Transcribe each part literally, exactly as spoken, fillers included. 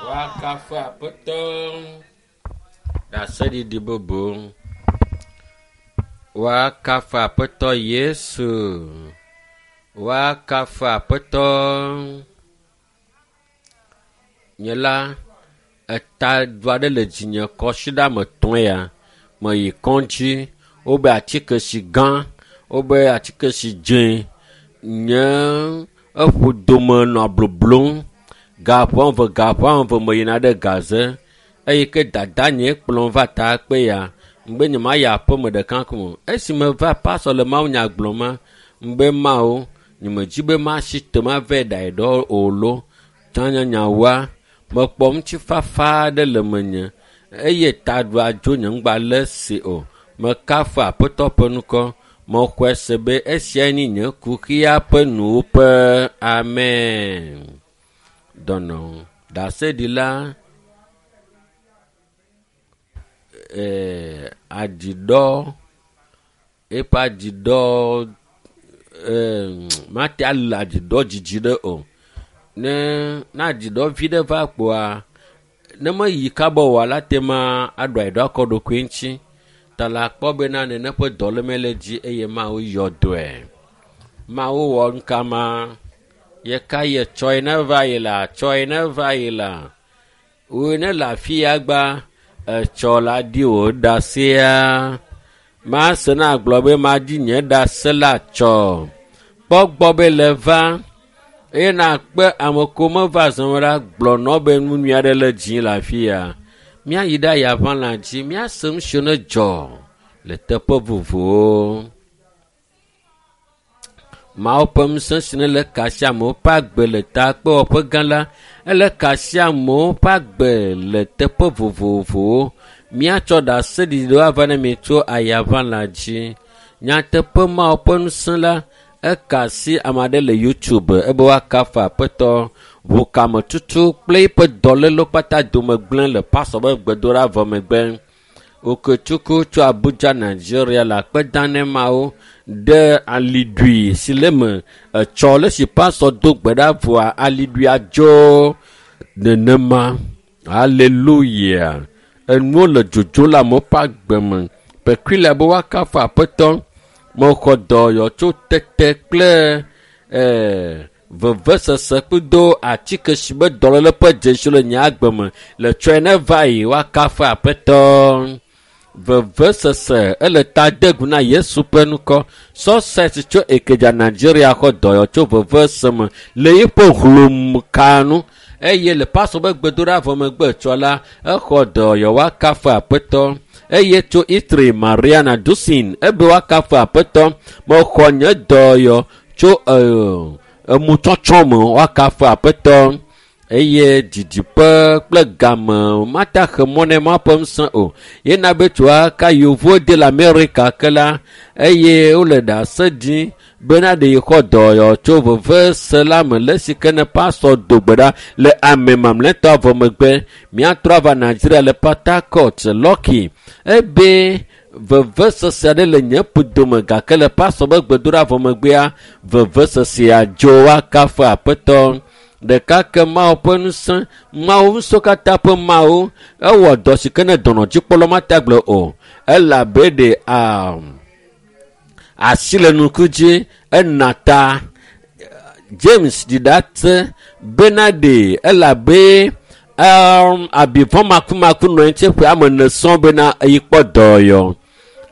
Woakafu Aƒetɔ. Ɖaseɖiɖi bubu. Woakafu Aƒetɔ Yesu. Woakafu Aƒetɔ. Nye la, eta du aɖe le dzinye kɔsiɖame tɔ̃ ya. Meyi kɔdzi, wobe atike si gã, wobe atike si dze. Nye eƒo dome nɔ bloblom. Gaƒe eve gaƒe eve meyina ɖe gaze eyi ke dadanye kplɔm va takpe ya. Ŋgbe nye ma yi aƒeme ɖeka ko o. Esi meva pasɔ le mawunya gblɔm ma, ŋgbe mawo nyemedzi be masi te mava ɖae ɖɔ o lo. Tsãnyanyawoa, mekpɔ ŋutifafa aɖe le menye eye taɖua dzo nye ŋgba le si o. Mekafu Aƒetɔ ƒe ŋkɔ. Mexɔe se be esiae nye nye kuxia ƒe nuwuƒe. Amen. Dɔnɔ ɖaseɖila ee aɖiɖɔ eƒe aɖiɖɔ ee mate ale aɖiɖɔ dzidzi ɖe o. Ne ne aɖiɖɔ vi ɖe va kpoa ne meyi kaba oa la te ma aɖo aɖiɖɔ akɔ ɖokui ŋuti. Ta la kpɔ bena nene ƒe dɔléme le dzi eye Mawu yɔ dɔe. Mawu wɔ ŋkama ye ka ye tsɔe ne va yi la tsɔe ne va yi la. Wòe ne le afi ya gba etsɔ la di wò ɖasea. Mase na gblɔ be madi nye ɖase la tsɔ. Kpɔ gbɔ be le va eye nakpe ame ko meva zɔme la gblɔ nɔ be nu nyui aɖe le dzi le afi ya. Míayi ɖe ayaʋalã dzi, míase nu siwo ne dzɔ le teƒe vovovowo. Mawu ƒe ŋusẽ si ne le ka sia amewo ƒe agbe le takpewɔƒe gã la, ele ka sia amewo ƒe agbe le teƒe vovovowo. Míatsɔ ɖaseɖiɖiwo ava ne mi tso ayaʋalã dzi. Nyateƒe Mawu ƒe ŋusẽ la, eka asi ame aɖe le YouTube ebe woakafu Aƒetɔ. Ʋukametutu kple eƒe dɔlélewo kpata dome gblẽ le pasɔ be gbedoɖa vɔ megbe. Okechukwu tso Abuja, Nigeria le akpe dam ne Mawu ɖe aliɖui si le eme etsɔ le si pasɔ do gbe ɖa vɔa aliɖuia dzo nenema. Aleluya. Enuwo le dzodzo le amewo ƒe agbe me. Peculiar be woakafu Aƒetɔ. Mexɔ dɔyɔ tso tete kple ee vevesese kple atike si be dɔléle ƒe dzesi le nye agbe me le tsɔe ne va yi woakafu Aƒetɔ. Vevesese ele ta de gu na Yesu ƒe ŋkɔ. Success tso Ekedza Nigeria xɔ dɔyɔ tso vevese me le eƒe hlomka nu eye le pasɔ be gbedoɖa vɔ megbe tsɔ la exɔ dɔyɔ woakafu Aƒetɔ. Eye tso Itri Mariana Dusin ebe woakafu Aƒetɔ. Mexɔ nye dɔyɔ tso ee emutsɔtsɔ me woakafu Aƒetɔ. Eye didiƒe kple game mate axe mɔ ne Mawu ƒe ŋusẽ o. Yena be tso aka yevuwo de le Amerika ke la eye wole ɖase ɖim bena ɖe yi xɔ dɔyɔ tso vevese la me le esi ke ne pasɔ do gbe ɖa le ame mamlɛtɔ vɔ megbe. Míatrɔ ava Nigeria le Port Harcourt, Lucky ebe vevesese aɖe le nye ƒodome gake le pasɔ be gbedoɖa vɔ megbea vevesesea dzo woakafu Aƒetɔ. Ɖeka ke Mawu ƒe ŋusẽ, Mawu ŋusẽwo katã ƒe Mawu, ewɔ dɔ si ke ne dɔnɔdzikpɔla mate agblɔ o. Elabe ɖe um, asi le nuku dzi ena ta James ɖi ɖase bena ɖe elabe um, abivɔ makumaku nɔ anyi tse ƒe ame ene sɔŋ bena eyi kpɔ dɔyɔ.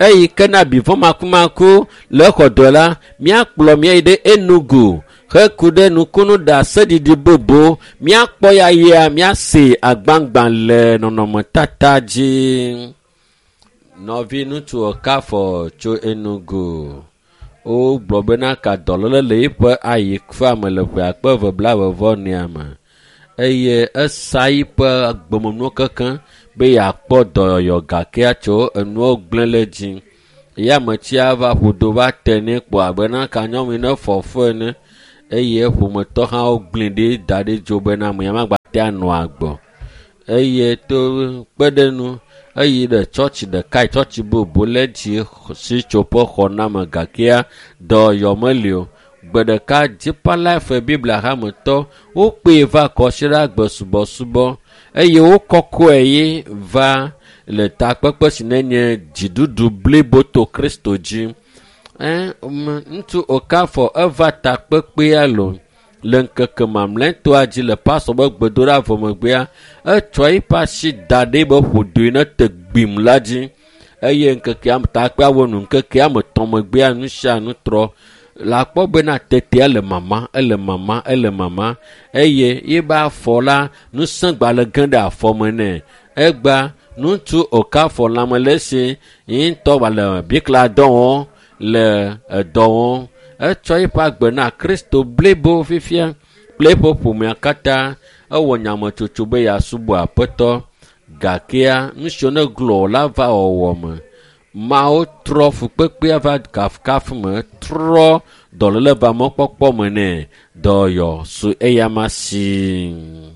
Eyi ke na abivɔ makumaku le exɔ dɔ la, míakplɔ míayi ɖe Enugu heku ɖe nukunu ɖaseɖiɖi bubu. Míakpɔ ya yia míase agbagba le nɔnɔmetata dzi. Nɔvi ŋutsu Okafɔ tso Enugu. Wogblɔ bena ka dɔléle le eƒe ayi ƒe me le ƒe akpe eve blaeve vɔ enea me eye esa yiƒe agbemenuwo kekeŋ be yeakpɔ dɔyɔyɔ gakea tso enuwo gblẽ le dzi. Ye ametsia va ƒodo va te nɛ kpɔ abe na ka nyɔnu yi ne fɔ fu ene eye ƒometɔ hã wogblẽ ɖi da ɖi dzo bena ame ya magba te anɔ agbe. Eye to kpe ɖe nu eyi ɖe tsɔtsi ɖeka yi tsɔtsi bubu le dzi si tso ƒe xɔname gakea dɔyɔ meli o. Gbe ɖeka Deeper Life Biblia hametɔ wokpee va kɔsiɖagbe subɔsubɔ eye wokɔkɔe ye va le takpekpe si nenye dziɖuɖu blibo to Kristo dzi. Ŋutsu Okafor eva takpekpea lo le ŋkeke mamlɛtɔa dzi le pastor be gbedoɖa vɔ megbea etsɔ eƒe asi da ɖe be ƒodoe ne te gbim la dzi eye ŋkekea takpea wɔ nu ŋkekea me tɔ̃ megbea nu sia nu trɔ la kpɔ bena tetea le mama ele mama ele mama eye yebe afɔ la ŋusẽ gba le ge ɖe afɔ me nɛ egba ŋutsu Okafor lãme le esi yi ŋutɔ gba le bikla dɔ wɔm le edɔ wɔm etsɔ eƒe agbe na Kristo blibo fifia kple eƒe ƒomea katã ewɔ nyametsotso be yeasubɔ Aƒetɔ gakea nu siwo ne glɔ la va wɔwɔ me mawo trɔ fukpekpea va kafukafu me trɔ dɔléle va mɔkpɔkpɔ me nɛ dɔyɔ su eyama si.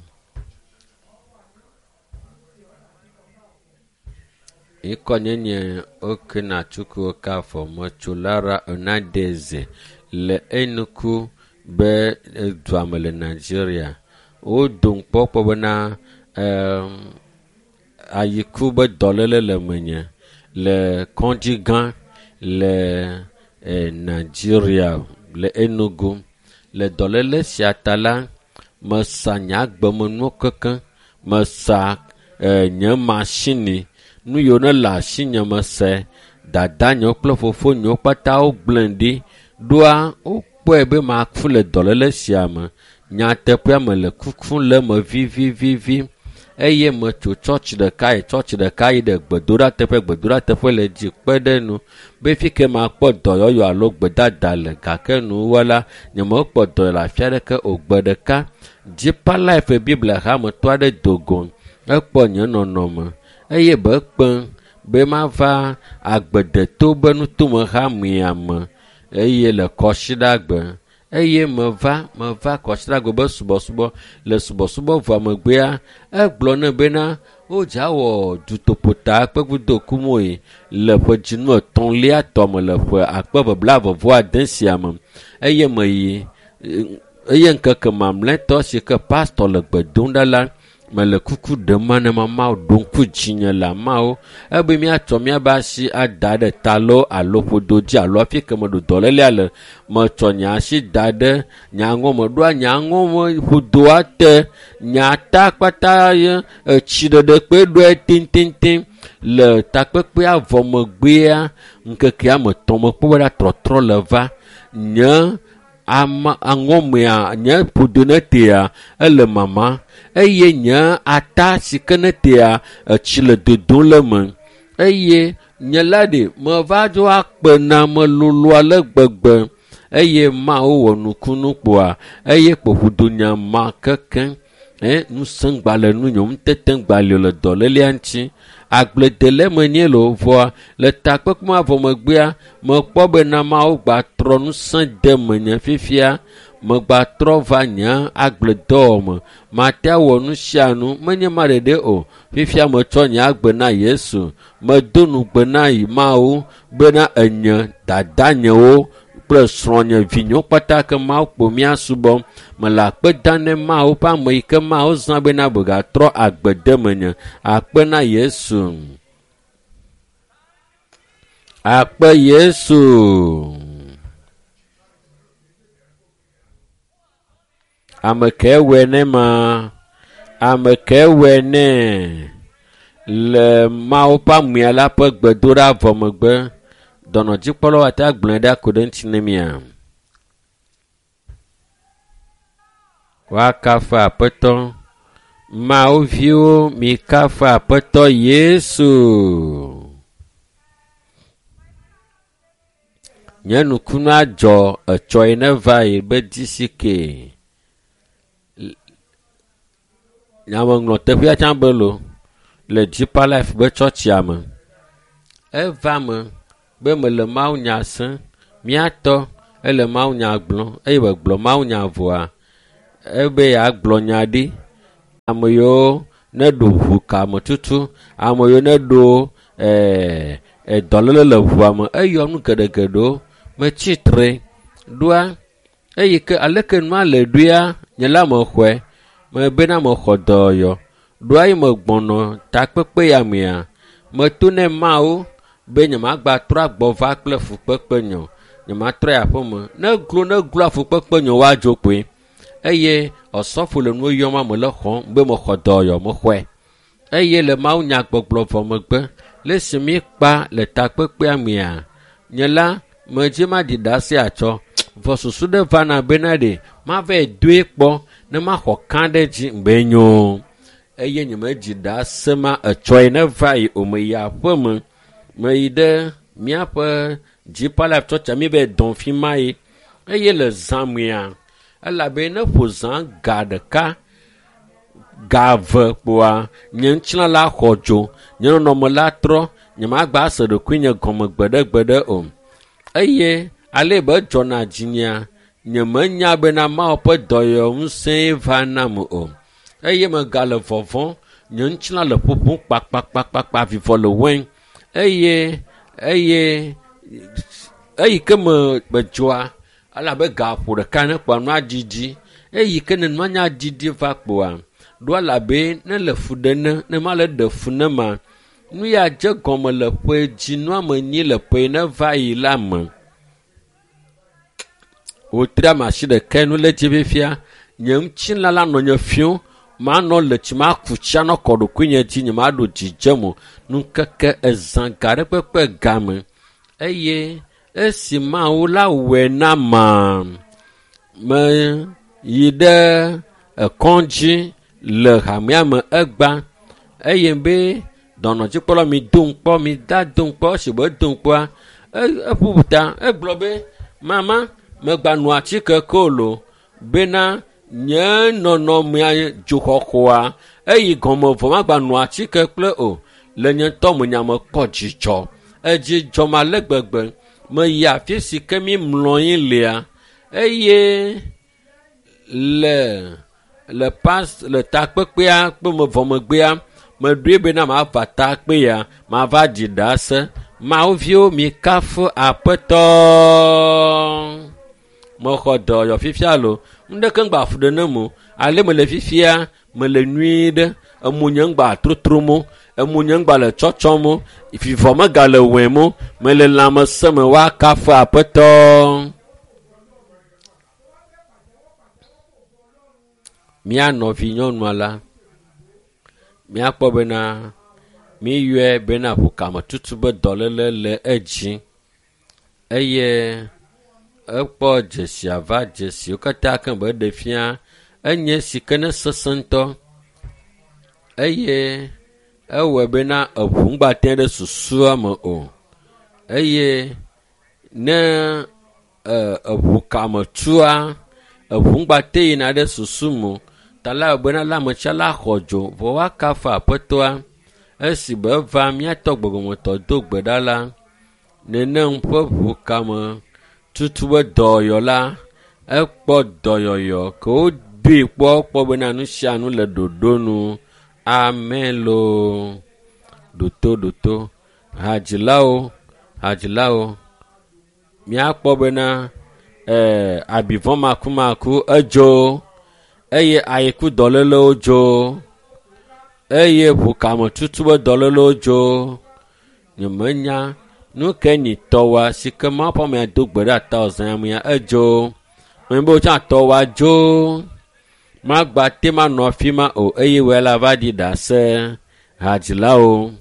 Ŋkɔnyenye Okenachukwu Okafor metso Lara Onadeze le Enugu be dua me le Nigeria. Wodom kpɔ kpɔ bena um, ayiku be dɔléle le menye le kɔdzi gã le eh, Nigeria le Enugu. Le dɔléle sia ta la, mesa nye agbemenuwo kekeŋ, mesa eh, nye masini nu yiwo ne le asinye mese dadanyewo kple fofonyewo kpata wogblẽ ɖi ɖoa wokpɔe be maku le dɔléle sia me. Nyateƒea me le kukum le eme vivivivi eye metso tsɔtsi ɖeka yi tsɔtsi ɖeka yi ɖe gbedoɖateƒe gbedoɖateƒe le dzi kpe ɖe nu be fi ke makpɔ dɔyɔyɔ alo gbedada le gake nuwɔla nyemekpɔ dɔ le afi aɖeke o. Gbe ɖeka Deeper Life Biblia hametɔ aɖe do go ekpɔ nye nɔnɔme eye be kpem be mava agbedeto be nutome hamea me eye le kɔsiɖagbe eye meva meva kɔsiɖagbe be subɔsubɔ le subɔsubɔ vɔa megbea egblɔ nɛ bena wodza wɔ dutoƒota kpekudokumoe le ƒe dzinu etɔ̃lia tɔ me le ƒe akpe eve blaeve vɔ ade sia me eye meyi eye ŋkeke mamlɛtɔ si ke pastor le gbe dom ɖa la mele kuku ɖem ma ne Mawu ɖo ŋku dzinye le ameawo ebe míatsɔ míabe asi ada ɖe ta loo alo ƒodo dzi alo afi ke meɖo dɔlélea le metsɔ nye asi da ɖe nye aŋɔme ɖoa nye aŋɔme ƒodoa te nye ata kpata ye etsi ɖeɖe kpe ɖoe tititi le takpekpea vɔ megbea ŋkekea me tɔ̃ mekpɔ be ɖa trɔtrɔ le va nye ama aŋɔmea nye ƒodo ne tea ele mama eye nye ata si ke ne tea etsi le dodom le me eye nye la ɖe meva dzo akpe na melolo ale gbegbe eye Mawu wɔ nukunu kpoa eye kpoƒodo nya ma kekeŋ eh ŋusẽ gba le nunye ŋutete gba li le dɔlélea ŋuti agbledele menye le vɔa le takpekpe ma vɔ megbea mekpɔ bena Mawu gba trɔ ŋusẽ de menye fifia megba trɔ va nye agbledɔwɔ me mate awɔ nu sia nu menye ma ɖeɖe o fifia metsɔ nye agbe na Yesu medo nugbe na Mawu bena enye dadanyewo kple srɔ̃nye vinyewo kpata ke Mawu kpo míasubɔ mele akpe dam ne Mawu ƒe ame yi ke Mawu zã bena begatrɔ agbe de menye akpe na Yesu akpe Yesu. Ame ke wɔe ne ma ame ke wɔe ne le Mawu ƒe amea la ƒe gbedoɖa vɔ megbe dɔnɔdzikpɔlawo ate agblɔe ɖa ku ɖe ŋuti ne mia. Woakafu Aƒetɔ. Mawu viwo mikafu Aƒetɔ Yesu. Nye nukunu adzɔ etsɔ yi ne va yi be D C K. Nyameŋlɔ teƒea tsã be lo le Deeper Life be tsɔtsia me. Eva me be mele mawunya sem míatɔ ele mawunya gblɔm eye wògblɔ mawunya vɔa ebe yeagblɔ nya ɖi ame yiwo ne ɖo ʋu kame tutu ame yiwo ne ɖo ɛɛ dɔléle le ʋua me eyɔ nu geɖegeɖewo metsi tre ɖoa Eye ke aleke nua le ɖoea, nye la mexɔe. Mebena mexɔ dɔyɔyɔ. Ɖoa yi megbɔnɔ takpekpe ya mea, meto ne Mawu be nyemagba trɔ agbɔ va kple fukpekpe nye o. Nyematrɔ yi aƒeme. Ne glo ne glo afukpekpe nye woadzo kpoe. Eye ɔsɔfo le nuwo yɔm ame le xɔm be mexɔ dɔyɔyɔ mexɔe. Eye le Mawu nyagbɔgblɔ vɔ megbe, le esi mi kpa le takpekpea mea, nye la medzi maɖi ɖase atsɔ. Vɔ susu ɖe vana bena ɖe mava doe kpɔ ne maxɔ ka ɖe dzi be nyo. Eye nyemedzi ɖase ma etsɔe ne va yi o meyi aƒeme. Meyi ɖe míaƒe Deeper Life Church mi be dɔn fi ma yi. Eye le zã mea, elabe ne ƒo zã ga ɖeka, ga eve kpoa, nye ŋutilã la xɔ dzo, nye nɔnɔme la trɔ, nyemagba se ɖokuinye gɔme gbeɖegbeɖe o. Eye ale be dzɔna dzinyea, nyemenya bena Mawu ƒe dɔyɔŋusẽe va nam o. Eye megale vɔvɔ̃, nye ŋutilã le ƒoƒom kpakpakpakpa, vivɔ le wɔm. Eye, eye, eyi ke me medzɔa, elabe ga ƒo ɖeka ne kpoa nua dzidzi. Eyi ke ne nua nya dzidzi va kpoa, ɖo elabe ne le fu ɖe ne, ne ma le ɖe fu ne ma, nu ya dze gɔme le ƒe dzi nua me nyi le ƒe ne va yi la me. Wòtri ame asi ɖeka nu le dzi fifia, nye ŋutilã la nɔ nye fiom, manɔ le tsi maku tsi anɔ kɔ ɖokuinye dzi, nye maɖo dzidzem o. Nukeke ezã ga ɖe kpekpe game. Eye esi Mawu la wɔe na ma, meyi ɖe ekɔdzi le hamea me egba. Eye be dɔnɔdzikpɔla mi dom kpɔ, mi da dom kpɔ, esi be dom kpɔa, eƒu ta, egblɔ be, mama, megba nɔ atike ke o lo, bena nye nɔnɔmea dzoxɔxɔa, eyi gɔme vɔ magba nɔ atike kple o. Le nye ŋutɔ me nya mekpɔ dzidzɔ. Edzi dzɔm ale gbegbe. Meyi afi si ke mi mlɔ anyi lea, eye le, le pas, le takpekpea kple me vɔ megbea, meɖoe bena mava takpea, mava dzi ɖase. Mawu viwo mi kafu Aƒetɔ. Mexɔ dɔyɔ fifia lo. Ŋɖeke ŋgba fu ɖe nem o. Ale mele fifia, mele nyuie ɖe. Emo nye ŋgba trotrom o. Emo nye ŋgba le tsɔtsɔm o. Vivɔ megale wɔem o. Mele lãmesẽ me woakafu Aƒetɔ. Mía nɔvi nyɔnua la, míakpɔ bena míyɔe bena ʋukametutu be dɔléle le edzi. Eye ekpɔ dzesia va dzesiwo katã ke be ɖe fia, enye si ke ne sesẽ ŋutɔ. Eye ewɔe bena eʋu ŋgba te ɖe susua me o. Eye ne, e, eʋukametua, eʋu ŋgba te yina ɖe susu me o. Ta la wɔ bena la ametsia la xɔ dzo, vɔ woakafu Aƒetɔa. Esi be eva míatɔ gbɔgbɔmetɔ do gbe ɖa la, nenem ƒe ʋukame tutu be dɔyɔ la, ekpɔ dɔyɔyɔ ke wodoe kpɔ kpɔ bena nu sia nu le ɖoɖo nu. Amen loo. Ɖoto, ɖoto. Hadzilawo, hadzilawo. Míakpɔ bena, e, abivɔ makumaku edzo eye ayiku dɔlélewo dzo eye ʋukametutu be dɔlélewo dzo. Nyemenya nu ke nyi tɔwa si ke Mawu ƒe amea do gbe ɖe ata wòzã amea edzo. Menye be wotsã tɔwa dzo. Magba te manɔ afi ma o eye wòe la va ɖi ɖase. Hadzilawo.